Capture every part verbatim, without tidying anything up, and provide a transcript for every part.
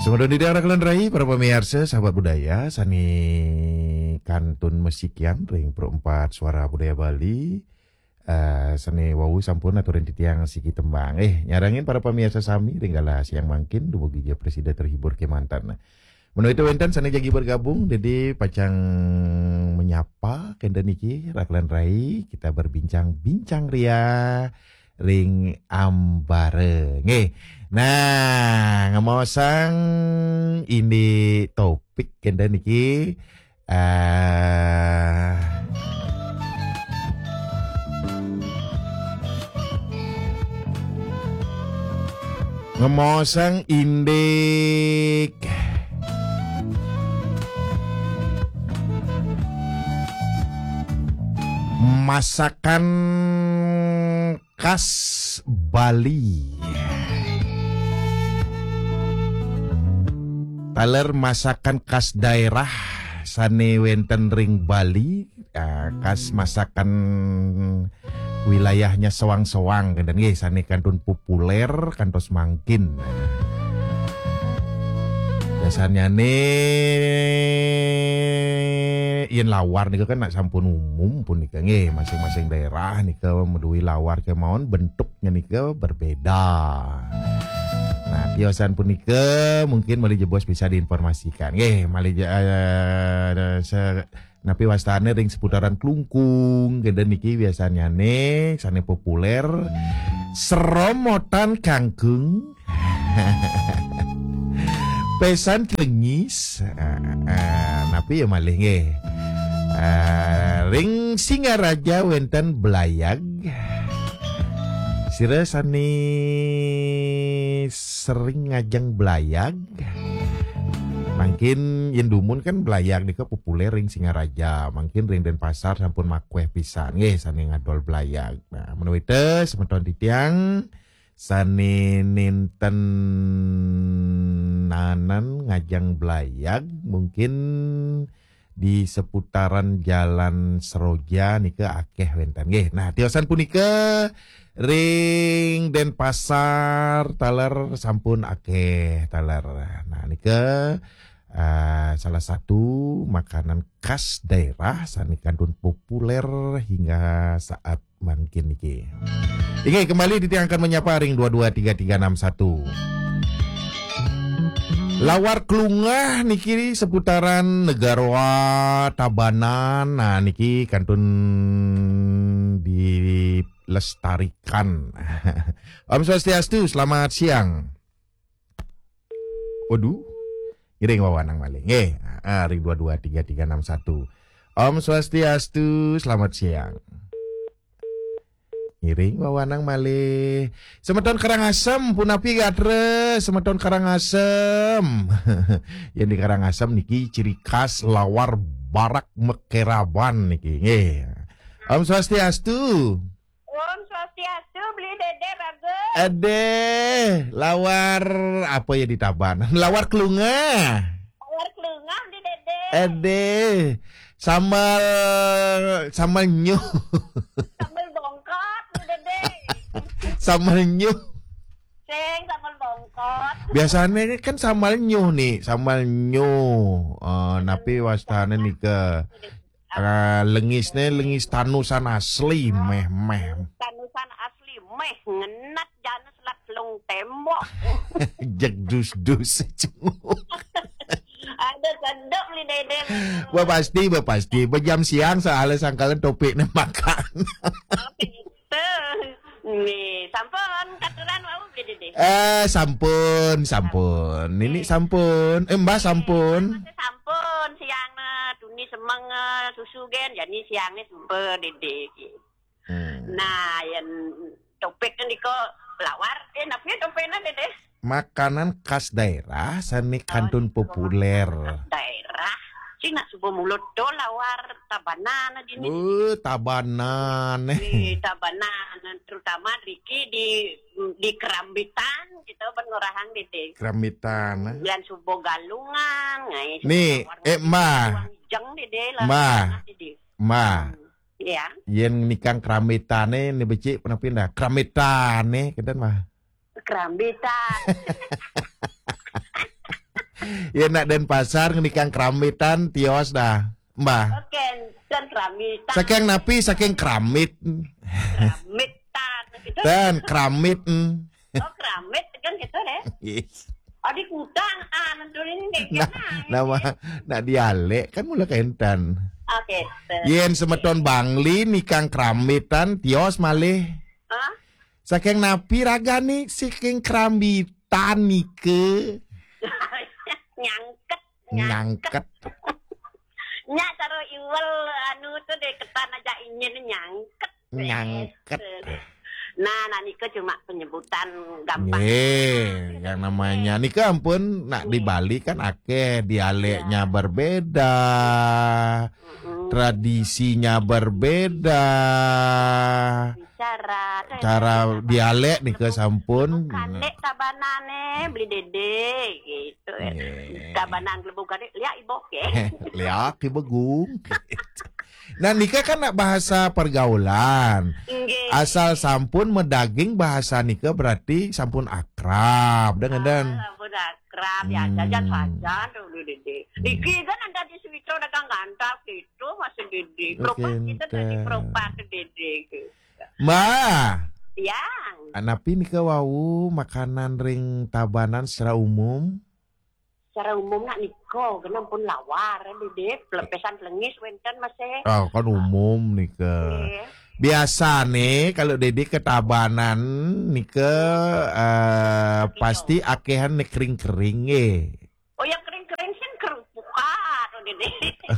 Sumedon di daerah Kelenrai, para pamiarsa, sahabat budaya, sane kantun masikian ring Pro Empat Suara Budaya Bali. Eh, sane wau sampun aturin titiang siki tembang. Eh, nyarengin para pamiarsa sami ring galah siang mangkin, dumugi ja prasida terhibur kemanten. Menawi wenten sane jagi bergabung, dadi pacang menyapa kenten niki, Ra Kelenrai, kita berbincang-bincang ria ring ambara. Nggih. Nah, ngemaosang indik topik kenten niki, eh, ngemaosang indik masakan khas Bali. Taler masakan khas daerah sane wenten ring Bali, ah, khas masakan wilayahnya soang-soang, kenten nggih, sane kantun populer kantos mangkin. Biasanyane yen lawar nika kan nak sampun umum punika nggih, masing-masing daerah nika madue lawar kemawon, bentuknya nika berbeda. Nah, tiosan punika mungkin malih jebos bisa diinformasikan. Nggih, malih je-, eh, se-, napi wastane ring seputaran Klungkung, kenten niki biasanyane sane populer seromotan kangkung. Pesan celengis. Ah, ah, napi ya malih nggih? Ah, ring Singaraja wenten blayag. Sira sane sering ngajeng blayag. Mangkin yen dumun kan blayag nika populer ring Singaraja. Mangkin ring Denpasar sampun makueh pisan nggih sane ngadol blayag. Nah, menawi te semeton titiang sane nenten nanan ngajeng blayag, mungkin di seputaran Jalan Seroja nika akeh wenten nggih. Nah, tiosan punika ring Denpasar taler sampun akeh taler. Nah, nika, eh, salah satu makanan khas daerah sane kantun populer hingga saat mangkin niki. Inggih, kembali titiang akan menyapa ring dua dua tiga tiga enam satu. Lawar klungah niki seputaran Negara Tabanan. Nah, niki kantun dilestarikan. Om Swastiastu, selamat siang. Waduh. Ngiring wawanang malih. Nggih, ah, ring dua dua tiga tiga enam satu. Om Swastiastu, selamat siang. Ngiring wawanang malih. Semeton Karangasem, punapi gatra? Semeton Karangasem. Yen di Karangasem niki ciri khas lawar barak mekeraban niki. Nggih. Om Swastiastu. Om Swastiastu, Beli Dede Raga. Ade, lawar apa ya di Tabanan? Lawar klungah. Lawar klungah, Beli Dede. Ade, sambal, sambal nyuh. Sambal bongkot, Beli Dede. Sambal nyuh. Sing sambal bongkot. Biasanya kan sambal nyuh nih, sambal nyuh. Eh, napi wastane nika? Ah, lengisne lengis tanusan asli, meh, meh. Tanusan asli, meh, ngenat jana selat selung tembok. Jeg dus-dus. Ada sedap, Beli Dede. Bah pasti, bah pasti. Bah jam siang soalnya sangkalan topiknya makan. Oke, gitu. Nih, sampun katuran wau, Beli Dede. Eh, sampun, sampun. Nini sampun. Eh, Mbah sampun. Masih sampun, siang na tuni semeng, eh, susu gen, jadi siangnya sempe, Dede. Hmm. Nah, yang topik kan diko lawar, eh, napi topiknya, Dede? Makanan khas daerah sane kantun populer. Daerah. Sing nak suba mulut do lawar Tabanan dini. Uh, Tabanan. Eh, Tabanan, terutama riki di, di Kerambitan, kita ban ngorahang, Dede. Kerambitan, eh. Yang suba Galungan, ngai. Nih, eh, Mbah. Jeng, Dede, lah. Mbah. Dede. Mbah. Hmm. Iya. Yen nikang Kerambitane, ni becik, punapi dah? Kerambitane, kenten, Mbah. Kerambitan. Yén nak Denpasar ngenikang keramitan, tios dah. Mbah. Oke, dan keramitan. Saking napi, saking keramit. Keramitan gitu. Dan keramit. Oh, keramit kan gitu deh. Yes. Oh, di kutang, ah, nentuin deh. Nah, nama, nak dialek kan mula kentan. Oke. Yén semeton Bangli nikang keramitan, tios malih. Hah? Saking napi ragane, saking kerambitan nika. Nyangket. Nyangket. Nya cara iwel anu tu deh, ketan aja ingin nyangket. Nyangket. Nah, nah nika cuma penyebutan gampang. Nggih, yang namanya nika ampun nak di Bali kan akeh dialeknya berbeda, tradisinya berbeda. Cara, cara dialek nika sampun. Kalek Tabanane beli Dede gitu. Nggih. Tabanan Gelembung Kalek, liak iboh ke. Liak iboh gung. Nah, nika kan nak bahasa pergaulan. Nggih. Asal sampun medaging bahasa nika berarti sampun akrab, dah ngeden. Ah, sampun akrab, ya, hmm, jajan saja tu dulu, Dede. Hmm. Niki kan ada di Suwito dagang gantap gitu, masih Dede. Oke, propat kita dari enten. Propat Dede gitu. Mbah. Ya. Napi nika wau makanan ring Tabanan secara umum? Secara umum nak nika, kena pun lawar, Dede, pelepesan pelengis wenten masih. Ah, kan umum nika. Nggih. Biasane kalau Dede ke Tabanan nika, eh, pasti akehan ne kering-kering nggih. Oh ya, kering-kering sing kerupuk ah, tuh, Dede.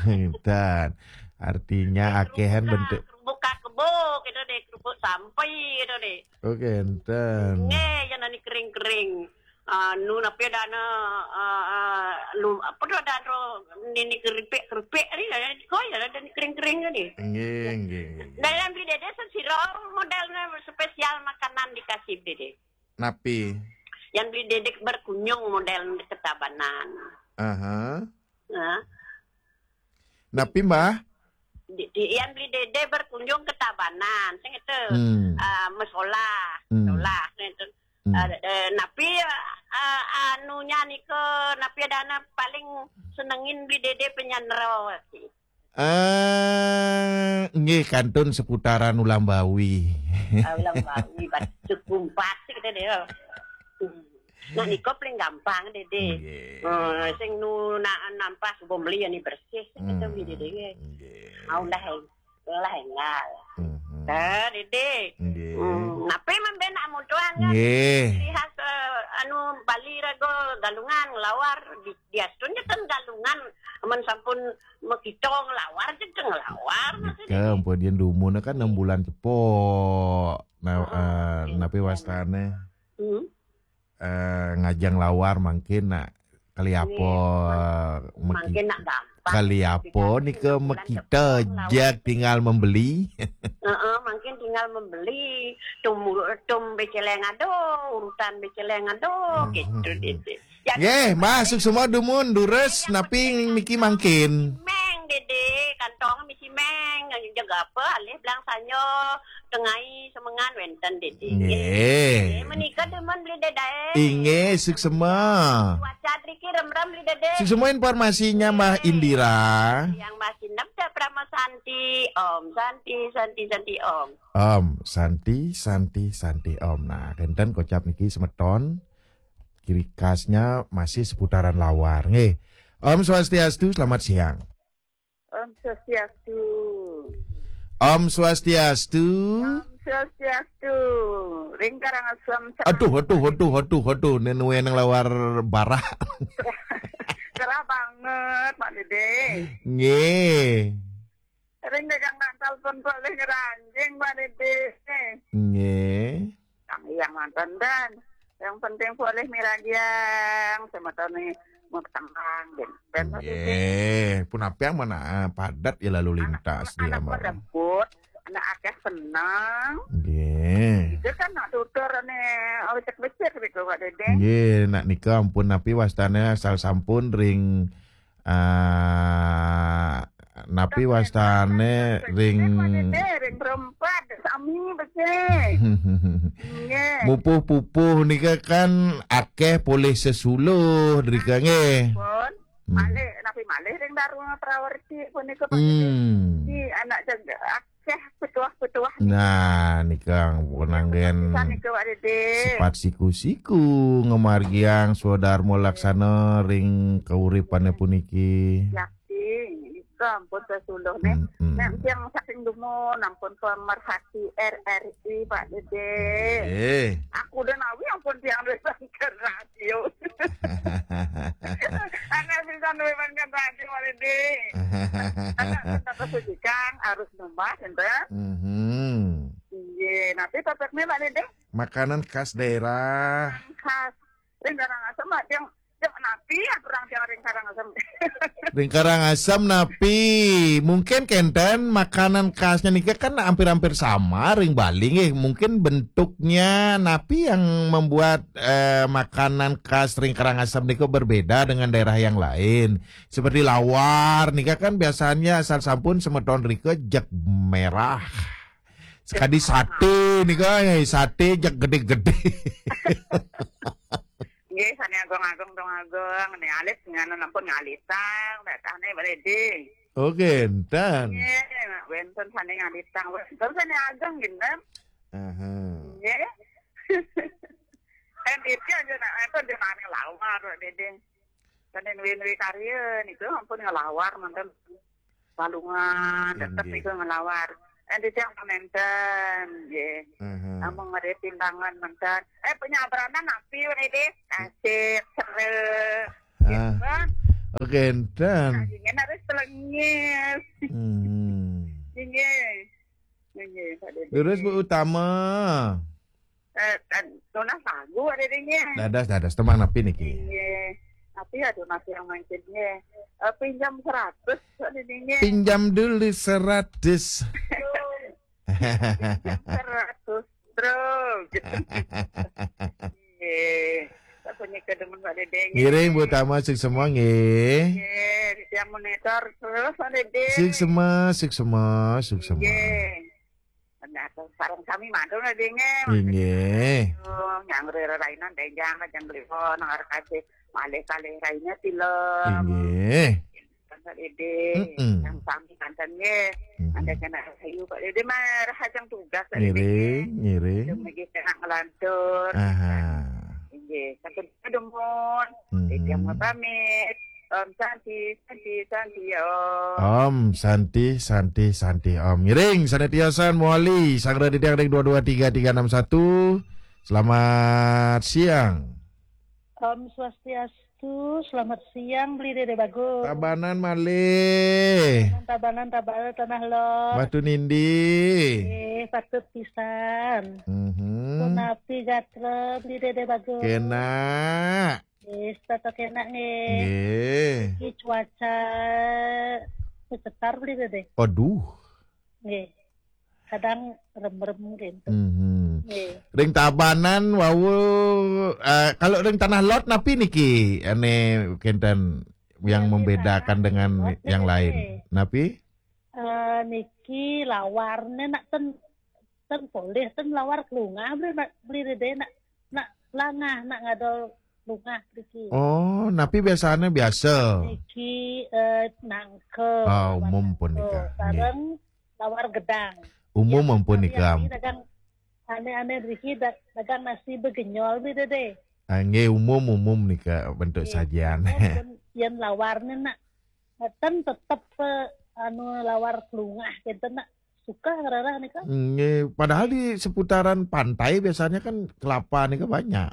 Enten. Artinya akehan bentuk kerupuk kebo gitu deh, kerupuk sampai gitu deh. Oke, enten. Nggih, yang nani kering-kering. Anu, napi ada ana, eh, eh, lu, apa tu ada ro, nini keripik-keripik ni, ada koi, ada ni kering-kering ni. Nggih, nggih, nggih. Dalam beli Dede sesiro modelnya spesial makanan dikasih Dede. Napi? Yang beli Dede berkunjung model ke Tabanan. Aha. Nah. Napi, Mbah? Di, di, yang beli Dede berkunjung ke Tabanan, sing itu. Hmm. Ah, mesolah, hmm, sekolah, sing itu. Hmm. Eh, eh, napi, eh, anunya niko, napi ada anak paling senengin beli Dede penyanro. Eh, nggih, kantun seputaran Ulambawi. Ah, Ulambawi, bat-, Sukumpat sih kita deh. Hmm. Nah, niko paling gampang, Dede. Nggih. Eh, sing nu na-, nampas bom beli ni bersih, kita beli, Dede, nggih. Nggih. Mau lah, lah, enggak. Mhm. Dah, Dede. Nggih. Hmm, napi membe nak mutuan kan? Nggih. Ciri khas, eh, anu, Bali rago galungan, ngelawar, di, diastun je kan galungan, amun sampun mekito ngelawar je kan ngelawar, maksudnya. Nika, ampun, yen dumun kan enam bulan cepok. Nah, oh, eh, oke, napi wastane? Hmm. Eh, ngajeng lawar mangkin nak kali apa, nggih, mangkin nak gampang. Kali apa nika mekita jeg tinggal membeli. Heeh, mangkin tinggal membeli. Tum, tum beceleng ado, urutan beceleng ado, gitu, gitu. Nggih, Mbah, suksma dumun, durus, napi niki mangkin. Meng, Dede, kantong misi meng, jaga apa, alih belang sanyo, tengai semengan wenten, Dede. Nggih. Menika demen beli Dede. Inggih, suksma. Cuaca driki remrem beli Dede. Suksma informasinya, Mbah Indira. Yang masih nemda Prama Santi, Om Santi, Santi, Santi, Om. Om Santi, Santi, Santi, Om. Nah, kenten kocap niki semeton. Ciri khasnya masih seputaran lawar, nggih. Om Swastiastu, selamat siang. Om Swastiastu. Om Swastiastu. Om Swastiastu. Ring Karangasem. Aduh, aduh, aduh, aduh, aduh, nenek nang lawar barah. Cerah banget, Pak Dede. Nggih. Ring dagang bantal pun boleh ngeranjing, Pak Dede. Nggih. Yang mantan dan yang penting boleh miragiang, semetone mau tenang, dan, dan Pak Dede. Nggih, pun apa yang mana, ah, padat ya lalu lintas di anak Lambang. Pada put, anak akeh senang. Nggih. Itu kan nak tutur nih, becek-becek gitu, Pak Dede. Nggih, nak nika ampun napi wastane asal sampun ring, ah, napi wastane ring, ring berempat, sami becek. Nggih. Mupuh-pupuh nika kan akeh polih sesuluh drika nggih. Pun. Hmm. Malih, napi malih ring Darma Prawerti punika, Pak Dede? Hmm. Di anak jaga akeh petuah-petuah nika. Nah, nika pun anggen pisan nika, Pak Dede. Sifat siku-siku ngamargiang swadarma laksana ring kauripane puniki. Yakti, nika ampun sesuluh nih. Hmm, hmm. Nek tiang saking dumun, ampun pemerhati R R I, Pak Dede. Eh. Aku udah nawi ampun tiang duwe bangker radio. Anak bisa duwe bangker radio, Pak Dede. Anak kita kesujikang harus nambah, enten. Mhm. Iya, nanti topiknya, Pak Dede. Makanan khas daerah. Khas. Ring Karangasem, Pak, tiang, tiang napi, ya, kurang tiang ring Karangasem. Ring Karangasem napi? Mungkin kenten makanan khasnya nika kan hampir-hampir sama ring Bali nggih. Mungkin bentuknya napi yang membuat, eh, makanan khas ring Karangasem nika berbeda dengan daerah yang lain. Seperti lawar nika kan biasanya asal sampun semeton rika jeg merah. Sekadi sate nika, eh, sate jeg gede-gede. Nggih, sane agung-agung, dong agung, ne alit, ngana ampun ngalitang, betane Pak Dede. Oh, kenten. Nggih, wenten sane ngalitang, wenten sane agung, genten. Aha. Nggih. Kan itu aja, nak, itu di mana lawar, Pak Dede. Sane nuwi-nuwi karya, niku ampun ngelawar, manten. Walungan, tetep Inggih. Niku ngelawar. Eh, di tiang pamenten, nggih. Aha. Amung ngrih timbangan menten. Eh, penyabranan napi, Pak Dede? Asik, seru. Ah. Gitu. Oke, enten. Nah, ingin harus telengis. Hmm. Inggih. Inggih, Pak Dede. Leres, Bu Utama. Eh, eh, nunas lagu, Pak Dede, nggih. Dados, dados. Tembang napi niki? Inggih. Tapi aduh, masih yang mangkin, nggih. Eh, pinjam seratus, Pak Dede, nggih. Pinjam dulu seratus. Seratus, bro. Nggih. Tak punya kedemen, Pak Dede, nggih. Ngiring, Bu Tama, suksma, nggih. Nggih, yang monitor terus, Pak Dede. Suksma, suksma, suksma. Nggih. Nah, sareng sami mantul, Pak Dede, nggih. Inggih. Yang rerainan denjang, jangan beli phone, ngarep aja. Malih-kalih raine tilem. Inggih. Pak Dede, mm-mm. Yang sami manten nggih. Mm-hmm. Ada kena rahayu, Pak Dede, mah rahajeng tugas, Pak Dede. Ngiring, ngiring. Dumugi kena ngelantur. Aha. Inggih, sampun dumun. Mm-hmm. Dede mau pamit. Om Santi, Santi, Santi, Om. Om Santi, Santi, Santi, Om. Ngiring, sane tiosan mawali, sanggra didi ring dua dua tiga tiga enam satu. Selamat siang. Om Swastiastu, selamat siang, Beli Dede Bagus. Tabanan malih. Tabanan, Tabanan, Tanah Lot. Batu Nindi. Eh, patut pisan. Mhm. Punapi gatra, Beli Dede Bagus. Kena. Eh, tetep kena, nggih. Nggih. Iki cuaca cetar, Beli Dede. Aduh. Nggih. Kadang rem-rem gitu. Mhm. Nggih. Ring Tabanan wau, eh, kalau ring Tanah Lot napi niki ane kenten yang membedakan dengan yang lain? Napi? Eh, niki lawarne nak ten, ten polih, ten lawar kelungah, Beli, nak, Beli Dede, nak, nak langah, nak ngadol lungah niki. Oh, napi biasane biasa? Niki, eh, nangka. Ah, umum pun nika. Nggih. Sareng lawar gedang. Umum ampun nika. Dagang ane-ane niki da-, dagang nasi begenyol, Beli Dede. Ah, nggih, umum, umum nika bentuk sajian. Nggih, umum pun yen lawarne nak, ngeten tetep, eh, anu, lawar kelungah kenten nak suka ngrereh nika. Nggih, padahal di seputaran pantai biasanya kan kelapa nika banyak.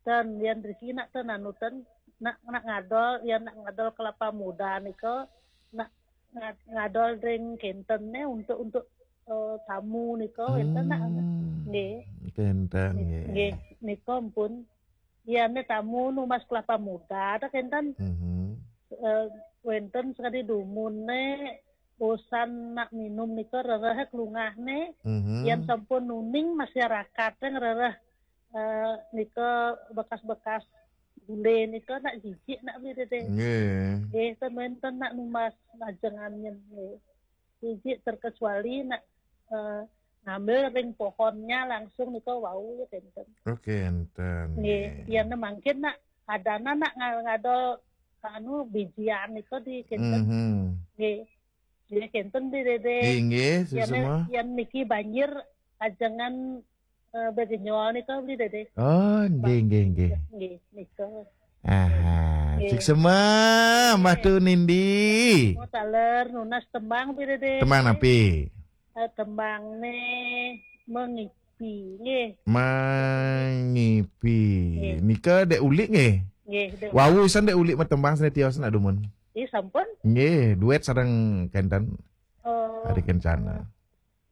Dan yen riki nak ten anu ten, nak, nak ngadol, yen nak ngadol kelapa muda nika, nak nga-, ngadol ring kenten ne untuk, untuk, eh, tamu nika, enten nak. Hmm. Nggih. Kenten, nggih. Nggih, nika ampun. Yen ne tamu numbas kelapa muda, ta kenten. Mhm. Eh, wenten sakadi dumun ne, bosan nak minum nika rereh kelungah ne. Mhm. Yen sampun nuning masyarakat ne ngrereh eh, nika bekas-bekas gule nika nak jijik nak Beli Dede. Nggih. Nggih, ten wenten nak numbas lajengan nyen, nggih. Jijik terkecuali nak, eh, ngambil ring pohonnya langsung nika wau ya kenten. Oke, enten. Nggih, nggih. Yen mangkin nak adanan nak nga-, ngadol anu bijian itu di kinten. Mhm. Nggih. Nggih kinten Bi Dede. Nggih, nggih, Yan, suksma. Yan niki banjir ajengan, eh, begenyol nika Bi Dede. Oh, nggih, nggih, nggih. Nggih, nika. Aha, nggih. Suksma, Mbah Tun Nindi. Oh, taler nunas tembang Bi Dede. Tembang napi? Eh, tembang ne mengipi, nggih. Mengipi. Nggih. Nika dek ulik nggih? Nggih, dek. Wau isan dek ulik matembang sane tios nak dumun. Ih, sampun. Nggih, duet sareng kenten. Oh. Hari Kencana.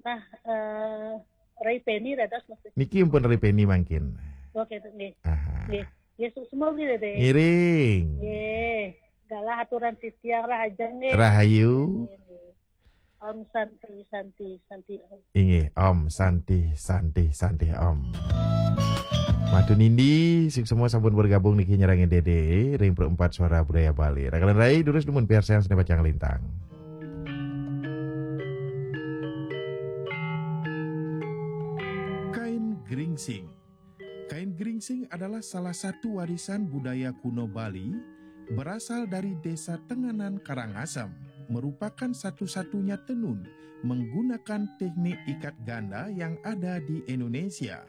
Nah, eh, Ray Penny dados maksud. Niki pun Ray Penny mangkin. Oke, nggih. Aha. Nggih. Yesus semua Bi Dede. Ngiring. Nggih. Galah aturan titiang rahajeng nggih. Rahayu. Nggih, nggih. Om Santi, Santi, Santi, Om. Inggih, Om Santi, Santi, Santi, Om. Mbah Tun Nindi, suksma sampun bergabung niki nyerang Dede ring Perempat Suara Budaya Bali. Rakanan rai durus dumun piarsayan seni pacang lintang. Kain geringsing. Kain geringsing adalah salah satu warisan budaya kuno Bali, berasal dari Desa Tenganan, Karangasem, merupakan satu-satunya tenun menggunakan teknik ikat ganda yang ada di Indonesia.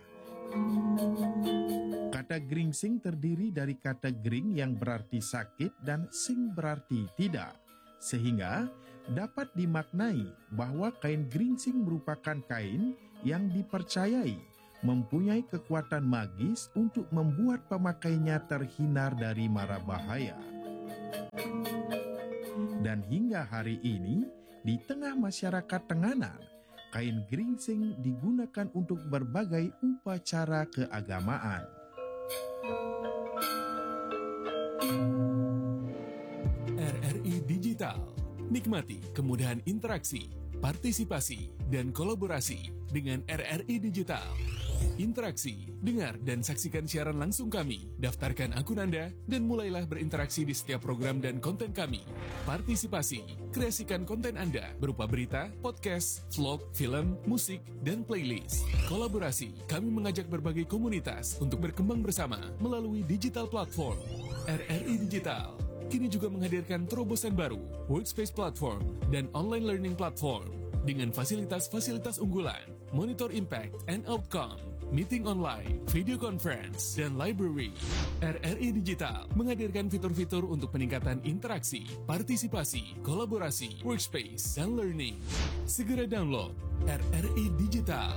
Kata geringsing terdiri dari kata gering yang berarti sakit dan sing berarti tidak, sehingga dapat dimaknai bahwa kain geringsing merupakan kain yang dipercayai mempunyai kekuatan magis untuk membuat pemakainya terhindar dari mara bahaya. Dan hingga hari ini, di tengah masyarakat Tenganan, kain geringsing digunakan untuk berbagai upacara keagamaan. R R I Digital. Nikmati kemudahan interaksi, partisipasi, dan kolaborasi dengan R R I Digital. Interaksi, dengar dan saksikan siaran langsung kami. Daftarkan akun Anda dan mulailah berinteraksi di setiap program dan konten kami. Partisipasi, kreasikan konten Anda berupa berita, podcast, vlog, film, musik, dan playlist. Kolaborasi, kami mengajak berbagai komunitas untuk berkembang bersama melalui digital platform. R R I Digital kini juga menghadirkan terobosan baru, Workspace Platform dan Online Learning Platform, dengan fasilitas-fasilitas unggulan, Monitor Impact and Outcome, meeting online, video conference, dan library. R R I Digital menghadirkan fitur-fitur untuk peningkatan interaksi, partisipasi, kolaborasi, workspace, dan learning. Segera download R R I Digital.